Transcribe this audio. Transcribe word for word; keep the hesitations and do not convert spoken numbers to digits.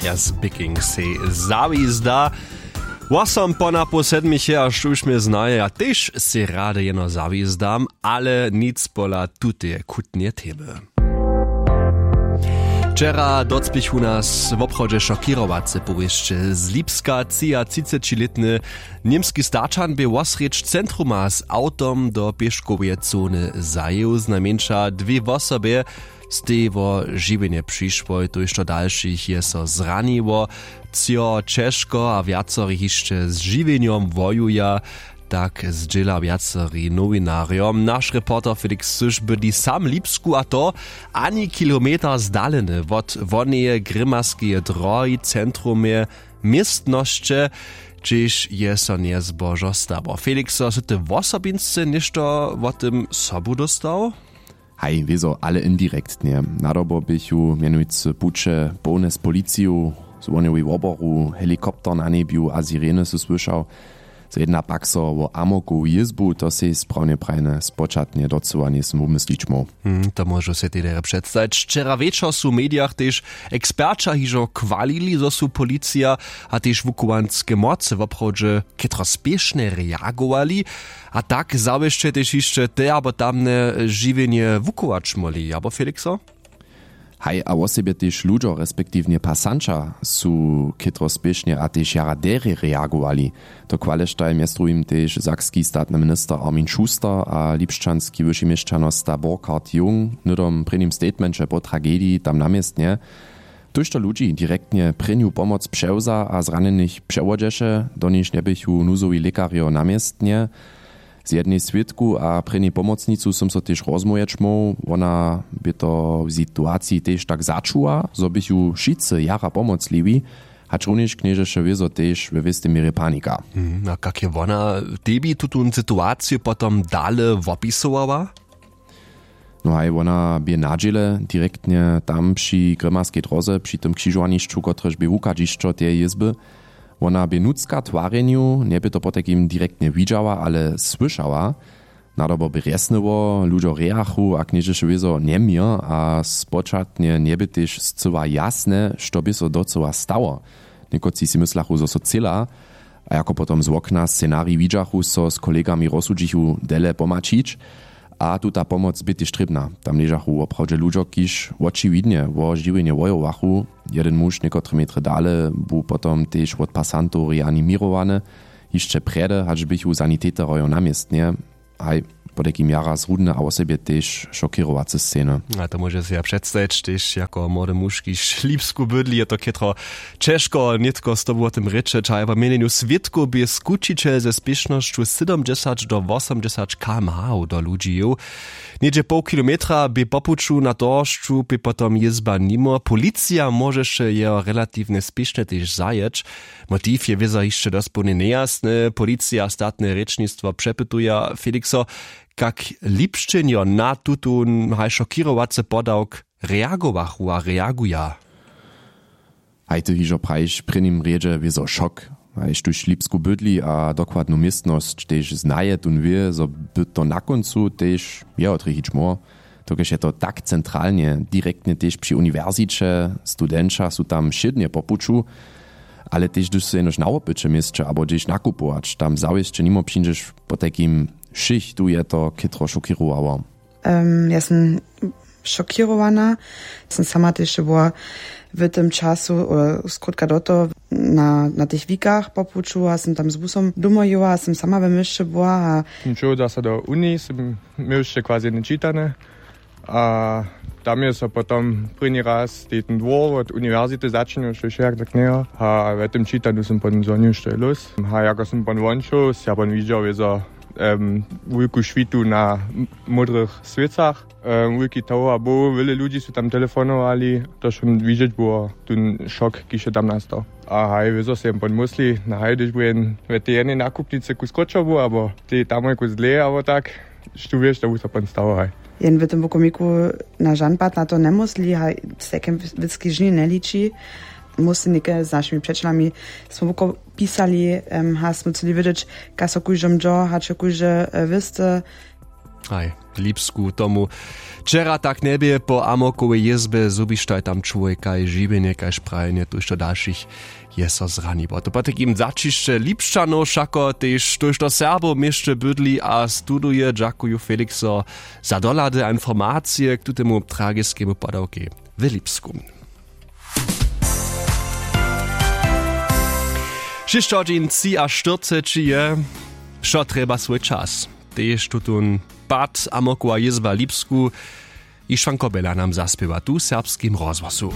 Jas biking sej zawizda. Wosom po napoł sedmich je a štóž mje znaje, ja tež sej rady jeno zawizdam, ale nic pola tuteje chutnje temy. Wčera docpěchu nas woprawdźe šokěrowace powěsće z lipska. Třiatřicećilětny němski starčan bě wosrjedź centruma z awtom do pěškoweje zony zajěł. Znajmjeńša dwě wosobje stej wo žiwjenje přišłoj, tójšto dalšich je so zraniło. Třo ćežko a wjacori hišće z žiwjenjom wojuja, tak zdźěla wjacori nowinarjom naš reporter Felix Syš. Bydli sam w Lipsku, a to ani kilometer zdaleny wot woneje grěmaskeje drohi, centrumje městnosće, hdźež je so njezbožo stało. Felixo, sy ty wosobinsce něšto wo tym sobu dóstał? Haj, wězo, ale indirektnje. Nadobo běchu mjenujcy puće połne z policiju, zwojowej woboru, helikopter na njebju a sireny sy słyšał. Zo jedna pak so wo amokowu jězbu, to sej sprawnje prajne, spočatnje docyła njejsym wumyslić móhł. Hmm, to móžu sej tež předstajić. Wčera wječor su w medijach tež eksperća hižo chwalili, zo su policija a tež wuchowanske mocy woprawdźe chětro spěšnje reagowali a tak zawěsće tež hišće te abo tamne žiwjenje wuchować móhli, abo Felixo? Haj, a wosebje tež ludźo, respektiwnje pasanća, su chětro spěšnje a tež jara derje reagowali. To chwaleštaj mjez druhim tež sakski statny minister Armin Schuster a lipšćanski wyši měšćanosta Burkhard Jung hnydom w prěnim statemenće po tragediji tam na městnje. Tójšto ludźi direktnje prěnju pomoc přewza a zranjenych přewodźeše, do nichž njeběchu nuzowi lěkarjo na městnje. Z jednej swědku a prěnjej pomocnicu sym so tež rozmołwjeć móhł. Wona bě to w situaciji tež tak začuła, zo běchu wšitcy jara pomocliwi, hačrunjež knježeše wězo tež we wěstej měrje panika. Mhm, a kak je wona tebi tutón situaciju potom dale wopisowała? No haj, wona bě na dźěle, direktnje tam při grěmarskej dróze, při tym křižowanišću, kotrež bě wuchadźišćo teje jězby. Wona bě nutřka w twarjenju, njebě to potajkim direktnje widźała, ale słyšała. Nadobo bě rjesnyło, ludźo rejachu a knježeše wězo njeměr a spočatnje njebě tež scyła jasne, što bě so docyła stało. Někotři sej mysljachu, zo so třěla, a jako potom z wokna scenarij widźachu, so z kolegami rozsudźichu dele pomaćić. A tuta pomoc bě tež trěbna. Tam ležachu woprawdźe ludźo, kiž wočiwidnje wo žiwjenje wojowachu. Jedyn muž někotre metry dale bu potom tež wot pasantow reaniměrowany, hišće prjedy, hač běchu sanitetorejo na městnje. Haj, potajkim jara zrudne a wosebje tež šokěrowace sceny. A to móže sej ja předstajić, tež jako młody muž, kiž w Lipsku bydli, je to chětro ćežko nětko z tobu wo tym rěčeć. Haj, wo měnjenju swědkow bě skućićel ze spěšnosću sydomdźesać do wosomdźesać kmh do ludźi jěł. Něhdźe poł kilometra bě po puću na dróžcu, bě potom jězba nimo. Policija móžeše jeho relatiwnje spěšnje tež zajěć. Motiw je wězo hišće dospołnje njejasny. Policija a statne rěčnistwo přepytuja. Felixo, kak Lipšćenjo na tutón haj šokěrowacy podawk reagowachu a reaguja? Haj, ty hižo prajiš, w prěnim rjedźe wězo šok. Haj, štóž w Lipsku bydli a dokładnu městnosć tež znaje, tón wě, zo by to na kóncu tež jeho trjechić móhło. Dokelž je to tak centralnje, direktnje tež při uniwersiće, studenća su tam wšědnje po puću, ale tež hdyž su jenož na wopyće w měsće abo hdźež nakupować, tam zawěsće nimo přińdźeš. Potajkim wšěch tu je to chětro šokěrowało. Em, ja sym šokěrowana. Sym sama tež była w tym času, e, skrótka do toho na, na tych wikach po puću a sym tam z busom domoj jěła a sym sama we měsće była a Sym šoł zase do uniji, sym měł hišće quasi jedne čitanje. A tam je so potom prěni raz tej ten dwór wot uniwersity začinił, što je wšejak tak njejo. A we tym čitanju sym potom zwonił, što je lós. A jako sym pon won šoł, sym ja pon widźał wězo, em, wulku šwitu na m-, módrych swěcach. Em, wulki tower był, wjele ludźi su tam telefonowali, to wšo widźeć było, ten šok, kiž je tam nastał. A haj, wězo sej jen pon mysli, na haj, hdyž bu jen we tej jednej nakupnicy kus krótšo był, abo tej tamoj kus dlej, abo tak, štó wěš, to bu so pon stało, haj. Jen w tym wokomiku na žan pad na to njemysli, haj, z takim wěcki žni njeliči. Móhł sej něke z našimi přećelami, smy woko pisali, em, haj, smy chceli wědźeć, kak so kóždym dźo, hač je kóždy, e, wěsty. Haj, w Lipsku tomu wčera tak njebě. Po Amokowej jězbje zhubištaj tam čłowjeka, žiwjenje kaž prajenje, tuž to dalšich je so zraniło. To potajkim zaćišće Lipšćanow wšako tež, tuž to Serbow w měsće bydli a studuje, dźakuju Felixo za dohlady a informacije k tutemu tragiskemu padawkej w Lipsku. Šěsć hodźin třiaštyrceći je, wšo trjeba swój čas. Tež tutón pad Amokowa jězba w Lipsku, hišćan Kobela nam zaspěwa tu w Serbskim rozhłosu.